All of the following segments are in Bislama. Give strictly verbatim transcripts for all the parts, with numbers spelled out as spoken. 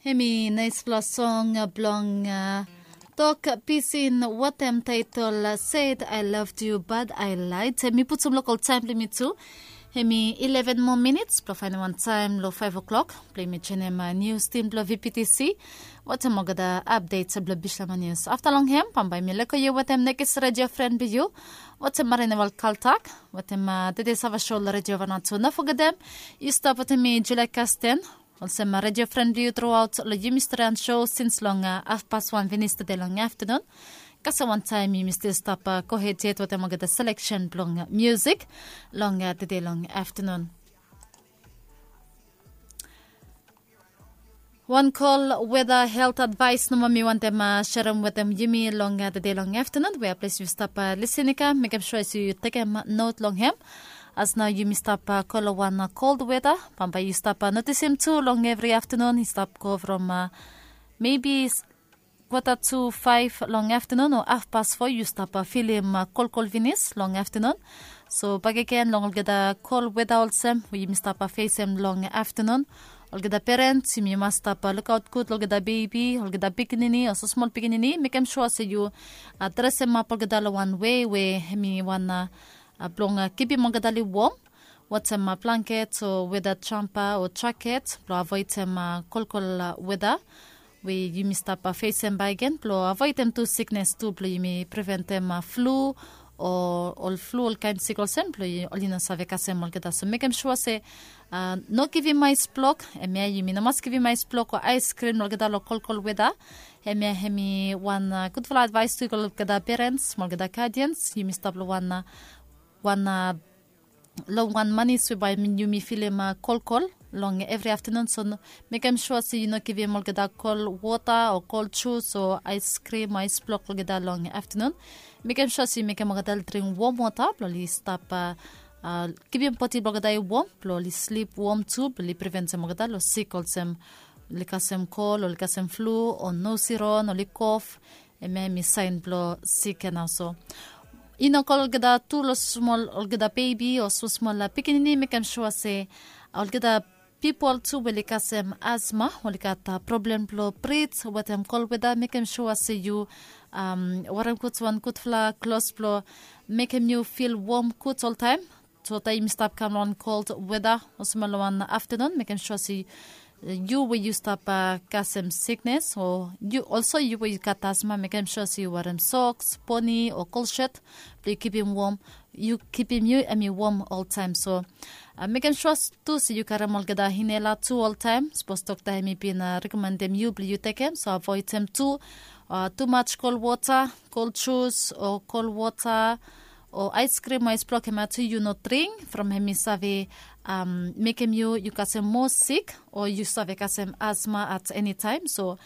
Em i naispela song blong tok pisin watem taitol Said I loved you but I lied. Em i putum lokal taim blong mi tu. Em i eleven moa minits blong faindaun wan taim long five o'clock blong mi joinim nius tim blong V P T C. Watem olgeta update blong Bislama Nius. Afta long hem bambae mi leko yu watem nekis redio fren blong yu. Watem marinewal kaltak watem tede sava sho long redio Vanuatu. No fogetem yu stap watem mi Julia Kasten. Olsem redio fren blong yu truaot long yumi storian sho sins long hafpas wan finis tede long aftanun. Kasem wantaem yumi stil stap gohed yet wetem olgeta seleksen blong musik long tede long aftanun. Wan kol weta helt advaes nomo mi wantem serem wetem yumi long tede long aftanun we ples yu stap lisin i kam mekem sua se yu tekem not long hem. As nao yumi stap go long wan kold weta, bambae yu stap notisim tu long evri aftanun i stap go from mebi kwata tu faef long aftanun o hafpas fo yu stap filim kolkol finis long aftanun. So bakegen long olgeta kol weta olsem we yumi stap fesem long aftanun, olgeta perens yumi mas stap lukaot gud long olgeta bebi, olgeta pikinini o smosmol pikinini, mekem sua se yu dresemap olgeta long wan wei we hem i wan blong kipim olgeta oli wom. Watem blanket o weta jampa o jaket blong avoidem kolkol weta we yumi stap fesem bakegen blong avoidem tu siknes tu blong yumi preventem flu o ol flu, olkaen sik olsem blong oli no save kasem olgeta. So mekem sua se no givim aes blok, hemia yumi no mas givim aes blok o aeskrim long olgeta long kolkol weta. Hemia hem i wan gudfala advaes tu i go long olgeta perens mo olgeta gadians. Yumi stap long wan wan long wan manis we bae yumi filim kolkol long evri aftanun. So mekem sua se yu no givim olgeta kol wota o kol jus o aeskrim o aes blok olgeta long aftanun. Mekem sua se yu mekem olgeta oli dring wom wota blong oli stap kipim bodi blong olgeta i wom blong oli slip wom tu blong oli preventem olgeta long sik olsem oli kasem kol, oli kasem flu o nosirong, oli kof. Hemia hem i saen blong sik ya nao. So i no kol olgeta tu long smol olgeta bebi o smosmol pikinini, mekem sua se olgeta pipol tu we oli kasem asma, oli gat problem blong brit wetem kol weta, mekem sua se yu werem gud wan gudfala klos blong mekem yu fil wom gud oltaem. So taem yumi stap kam long wan kold weta olsem long wan aftanun, mekem sua se yu we yu stap kasem siknes o yu olso yu we yu gat asma, mekem sua se yu werem soks, poni o kolshet blong yu kipim wom, yu kipim yu hem i wom oltaem. So mekem sua tu se yu karem olgeta inhela tu oltaem. Sapos dokta hem i bin rekomendem yu blong yu tekem, so avoidem tu tumaj kol wota, kol jus o kol wota o aeskrim o aes blok, hemia tu yu no dring from hem i save mekem yu yu kasem moa sik o yu save kasem asma at eni taem. So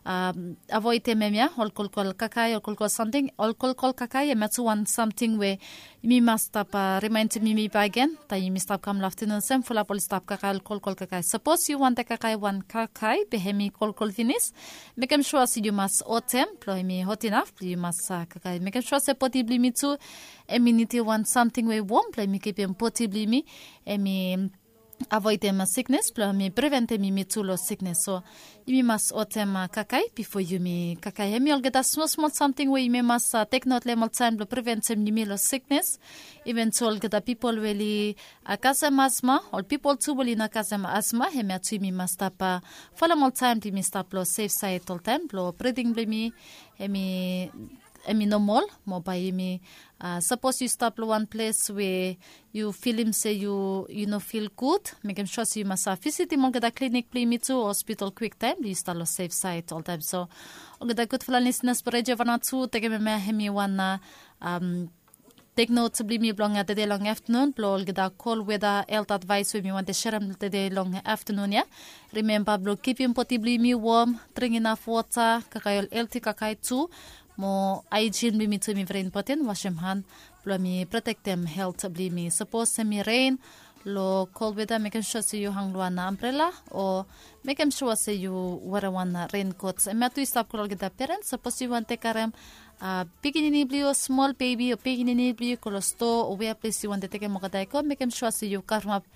avoidem hemia ol kolkol kakae, ol kolkol samting, ol kolkol kakae hemia tu wan samting we yumi mas stap rimaendem yumi bakegen taem yumi stap kam long aftanun olsem fulap oli stap kakae ol kolkol kakae. Sapos yu wantem kakae wan kakae be hem i kolkol finis, mekem sua se yu mas hotem blong hem i hot inaf blong yu mas kakae. Mekem sua se bodi blong yumi tu hem i nidim wan samting we i wom blong hem i kipim bodi blong yumi hem i avoidem siknes blong hem i preventem yumi tu long siknes. So yumi mas hotem kakae bifo yumi kakae. Hem i olgeta smosmol samting we yumi mas teknot long hem oltaem blong preventem yumi long siknes. Iven tu olgeta pipol we oli kasem asma, ol pipol tu we oli no kasem asma, hemia tu yumi mas stap folem oltaem blong yumi stap long sef saed oltaem blong briding blong yumi hem i hem i nomol mo bae yumi sapos yu stap long wan ples we yu filim se yu yu no fil gud, mekem sua se yu mas visitim olgeta klinik blong yumi tu o hospital kwiktaem blong yu stap long sef saed oltaem. So olgeta gudfala lisinas blong redio Vanuatu, tekem hemia hem i wan teknot blong yumi blong tede long aftanun blong olgeta kol weta helt advaes we mi wantem serem tede long aftanun ya. Rimemba blong kipim bodi blong yumi wom, dring inaf wota, kakae ol helti kakae tu. Mo aejin blong yumi tu hem i veri impoten, wasem han blong hem i protektem helt blong yumi. Sapos hem i ren long kol weta, mekem sua se yu hang long wan ambrela o mekem sua se yu werem wan renkot. Hemia tu i stap go long olgeta perens, sapos yu wantem karem pikinini blong yu o smol bebi o pikinini blong yu go long stoa o wea ples yu wantem tekem olgeta i go, mekem sua se yu kavremap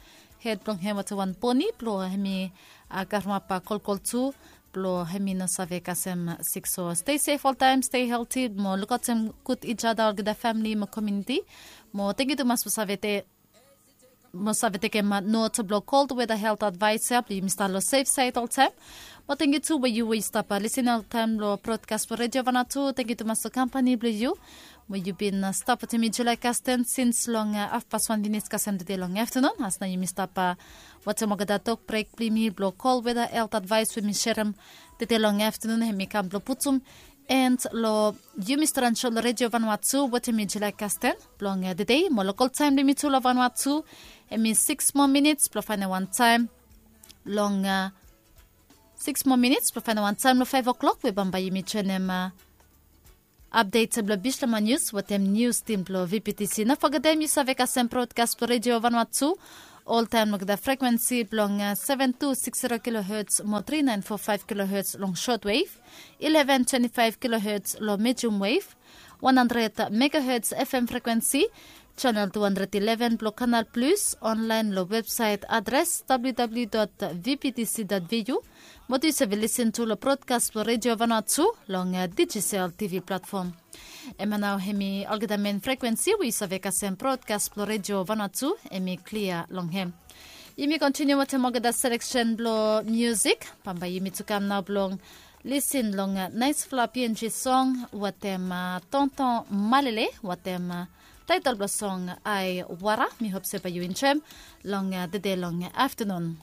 hed blong hem wetem wan poni blong hem i kavremap kolkol tu. blong hem i no save kasem sik. So stay safe oltaem, stay healthy mo lukaotem gud each other olgeta famili mo community. Mo thank you tumas blong save te mo save tekem not blong cold weather health advice ya blong yumi stap long safe side oltaem. Mo thank you tu we yu we yu stap lisin oltaem long broadcast blong Radio Vanuatu. Thank you tumas long company blong yu. Mo yu bin stap wetem mi July Kasten sins long afpas wan minit kasem tede long afternoon as na yumi stap wetem olgeta tok brek blong yumi blong cold weather health advice we mi serem tede long afternoon hem i kam blong putum and long yumi stran sho long Radio Vanuatu wetem mi July Kasten blong tede mo lokal taem blong yumi tu long Vanuatu hem i six moa minits blong faenem wan taem long six moa minits blong faenem wan taem long five o'clock we bambae yumi joenem update blong Bislama News wetem news team blong V P T C. No fogetem yu save kasem broadcast blong Radio Vanuatu oltaem long the frequency blong seven two six zero kilohertz mo three nine four five kilohertz long shortwave, eleven twenty five kilohertz long medium wave, one hundred megahertz F M frequency, channel two hundred eleven blong Canal Plus, online long website address W W W dot V P T C dot V U. Mo tu yu save lisin tu long broadcast blong Radio Vanuatu long Digicel T V platform. Hemia nao hemi olgeta men frequency we yu save kasem broadcast blong Radio Vanuatu hemi klia long hem. Yumi kontiniu wetem olgeta seleksen blong musik. Bambae yumi tu kam nao blong lisin long naesfala P N G song wetem Tonton Malele wetem taetel blong song Ai Wara. Mi hop se bae yu enjoem long tede long aftenun.